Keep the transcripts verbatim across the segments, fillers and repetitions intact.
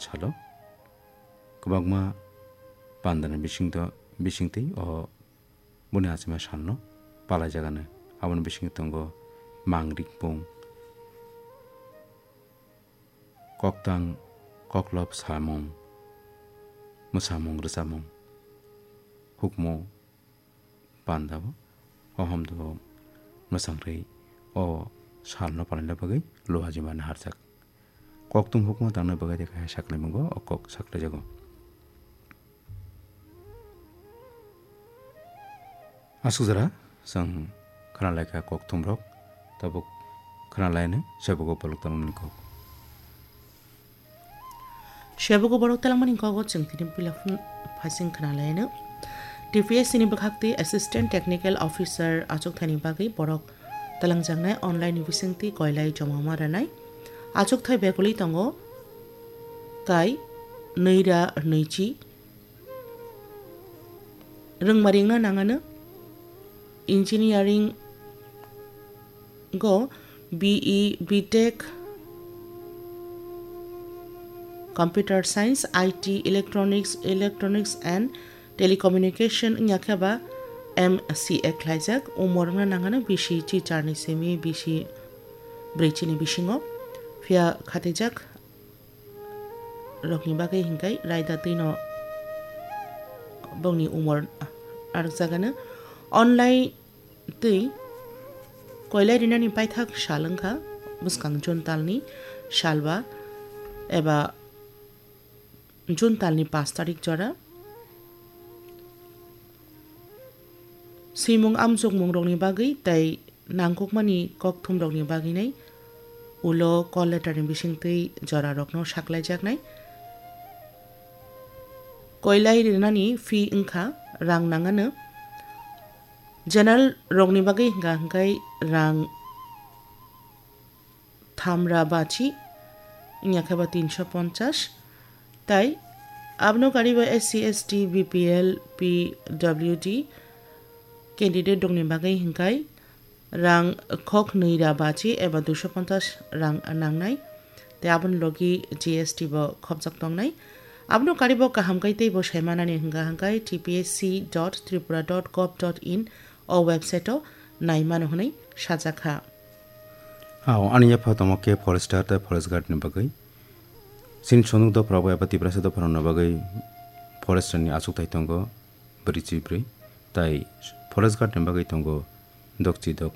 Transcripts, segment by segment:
salo kwbangma pandani bisingtwi o boni achima salno palaijak ano. Aboni bisingo tongo mangrik bung, koktang koklop samung, mwsamung rwchapmung, hukmu pandao o homdo mwsangri o salno palaina bagwi luhajima naharjak. Koktung hukma tangna bagwi de kaiha saklaimungo o kok saklaijago. Aswk jora chwng khwnalaikha kokthumrok, tabuk khwnalaino sebogo bolok tongmani kok. Sebogo borok telangmani kogo chwng tini puila phun phaising khwnalaino. T P S C ni bwkhakti Assistant Technical Officer achukthani bagwi borok telangjaknai online ni bisingtwi koilai joma ma rwnai. Achukthai beguli tongo kai nwi ra nwichi. Rwngmari wngna nangano engineering go B E, B Tech, Computer Science, I T, Electronics, Electronics and Telecommunication wngya khe ba M C A khlaijak. Umor wngna nangano bisi chichar ni simi bisi brwichi ni bisingo. Phiya khatijak rokni bagwi hinkhai raida twino bongni umor arwkjagano. Online twi koilai rinani paithak sal wngkha bwskang June talni salba eba June talni pash tarik jora. Swimung amjokmungrokni bagwi tei nangkukmani kokthumrokni bagwinai ulo call letterni bisingtwi jorarokno saklaijaknai. Koilai rinani fee wngkha rang nangano. General rokni bagwi hwnkha hwnkhe rang thamra bachi, wngya khe ba tinso ponchas. Tai abono karibo S C, S T, B P L, P W D candidate rokni bagwi hinkhai rang khok nwi ra bachi eba duiso ponchas rang nangnai. Tai aboni logi G S T bo khopjak tongnai. Abono karibo kaham kai teibo saimanani hwnkha hwnkhe T P S C dot tripura dot gov dot in o website o naimano hwnwi sajakha. Ao, ani yapha tongma khe forester tei forest guard ni bagwi. Chini sonok dopharok eba Tiprasa dopharokni bagwi forester ni achukthai tongo brwichi brwi, tai forest guard ni bagwi tongo dokchi dok.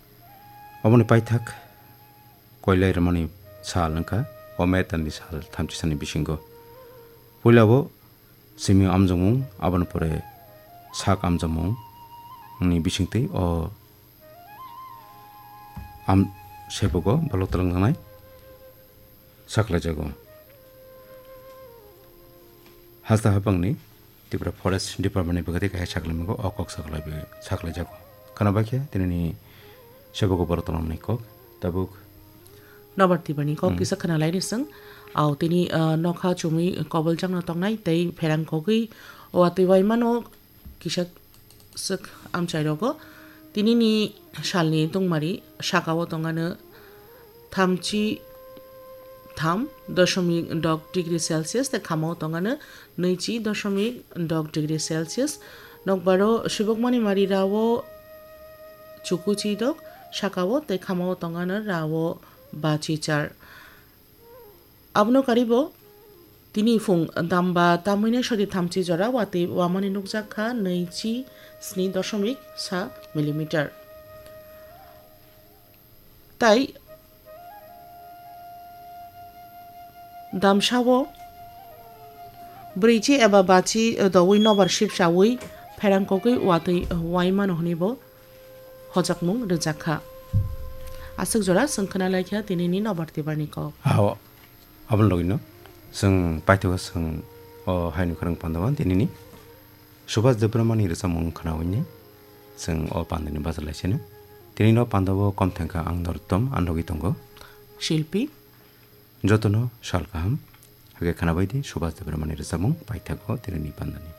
Oboni paithak koilai rwmani sal wngkha o May talni sal thamchi sani bisingo. Puila bo simi amjokmung, aboni pore sak amjokmung ni bisingtwi o am sebogo bolok twlangjaknai saklaijago. Hasta haphangni Tripura Forest Department ni bwkhati kaisa saklaimago, o kok saklaibi-, saklaijago. Khwnabaikhe tinini sebogo borok tongmani kok tabuk. Nobar Tiprani kok Hmm. kisa khwnalaini chwng. Au tini, ah, nokha chumui koboljakno tongnai tei pherang kogwi watwi waimano kisa swk amchairogo. Tinini salni tungmari sakao tongano thamchi tham dosomik dok degree Celsius tei khamao tongano nwichi dosomik dok degree Celsius. Nokbaro subukmani mari rao chukuchi dok sakao tei khamao tongano rao bachi char. Abono karibo tini phung damba tamwini sori thamchi jora watwi wamani nukjak kha nwichi sni dosomik sa millimeter. Tai damsao brwichi eba bachi doui nobar sipsaui pherangkogwi watwi waimano hwnwi bo hojakmung rwjak kha. Aswk jora chwng khwnalaikha tinini nobar tibarni kok. Ao, aboni logino chwng paithago chwng o haino khorang pandao tinini Subhas Debbarmani rwchapmung khwnaui ni chwng o pandani bachalaisino. Tinino pandao kom thangkha ang Norottom, ang logi tongo Shilpi. Jotono sal kaham. Hake khwnabaidi Subhas Debbarmani rwchapmung paithago tinini pandani.